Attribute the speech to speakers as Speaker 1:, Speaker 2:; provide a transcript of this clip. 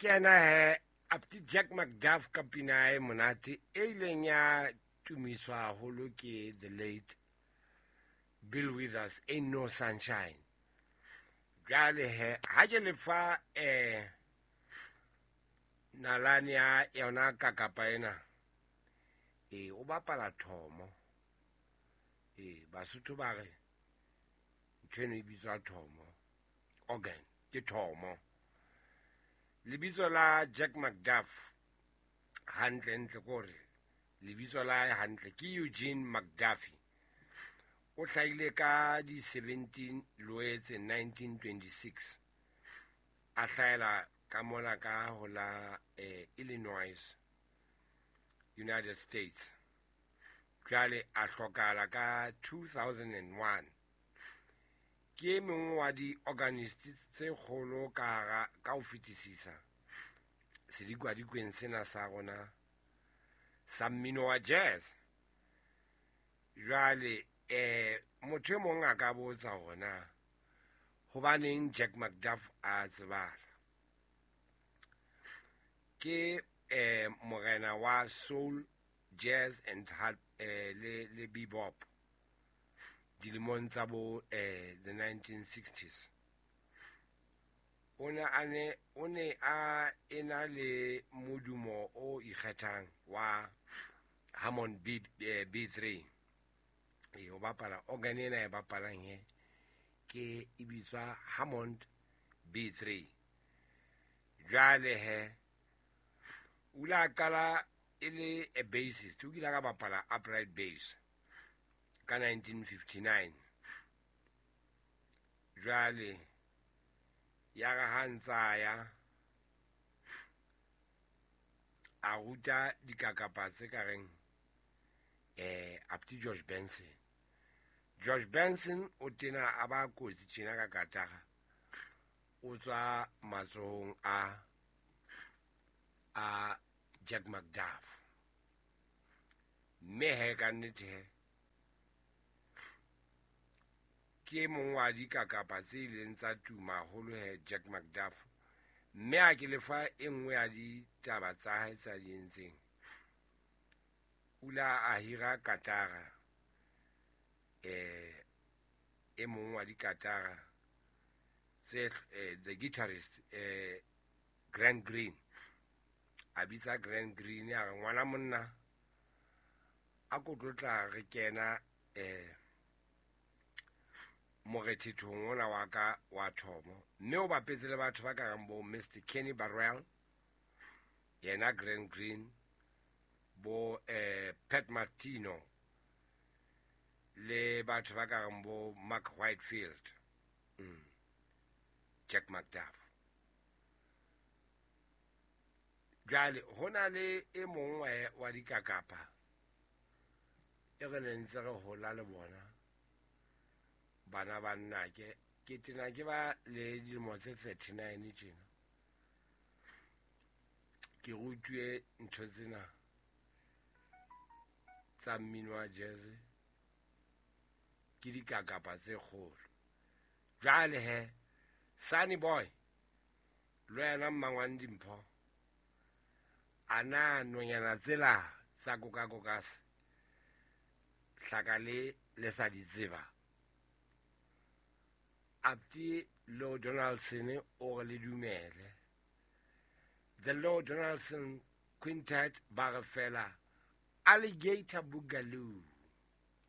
Speaker 1: Ke yena he Apti Jack McDuff ka pina e monate e ileng ya tumiswa haholo ke the late Bill Withers, Ain't No Sunshine. Jwale he ha ke lefa nalane ya yona kakapa ena, o bapala thomo. Basotho ba re ntho eno e bitswa thomo, organ ke thomo. Lebitso la Jack McDuff hantle ntle kore lebitso la hae hantle ke Eugene McDuffie. O hlahile ka di 17 Loetse 1926, a hlahela ka mona ka ho la Illinois, United States. Jwale a hlokahala ka 2001. Ke e mong wa di-organist tse kgolo ka hara ka ho fetisisa sedikwadikweng sena sa rona sa mmino wa jazz. Jwale motho e mong a ka botsa hore na hobaneng Jack McDuff a tsebala. Ke morena wa soul, jazz and hard le bebop dilemong tsa bo the 1960s. O ne a ena le modumo o ikgethang wa Hammond B3. O bapala organ ena e bapalang he ke e bitswa Hammond B3. Jwale he o ile a qala e le a bassist, o kile a ka bapala upright bass ka 1959. Jwale ya re ha ntsa ya a ruta dikakapa tse ka reng Apti George Benson. George Benson o tena a ba kotsi tjena ka katara, o tswa matsohong a Jack McDuff. Mme he ka nnete he ke mong wa dikakapa tse ileng tsa tuma haholo he Jack McDuff. Mme a ke lefa e nngwe ya ditaba tsa hae tsa di entseng, o ile a hira katara, e mong wa dikatara tse the guitarist Grant Green. A bitsa Grant Green a re ngwana monna a ko tlotla re kena morethethong ona wa ka wa thomo. Mme o bapetse le batho ba ka reng bo Mr Kenny Burrell, yena Grant Green, bo Pat Martino le batho ba ka reng bo Mark Whitefield, Jack McDuff. Jwale ho na le e mong wa dikakapa e re ne ntse re hola le bona bana ba nnake, ke tena ke ba le dilemo tse 39 tjena, ke rutuwe ntho tsena tsa mmino wa jazz ke dikakapa tse kgolo. Jwale he Sunny Boy le wena Mmangwane Dimpho, a na nonyana tsela tsa kokakokas hlaka le sa di tseba? Apti Lou Donaldson o re le dumele. The Lou Donaldson Quintet ba re fela Alligator Boogaloo.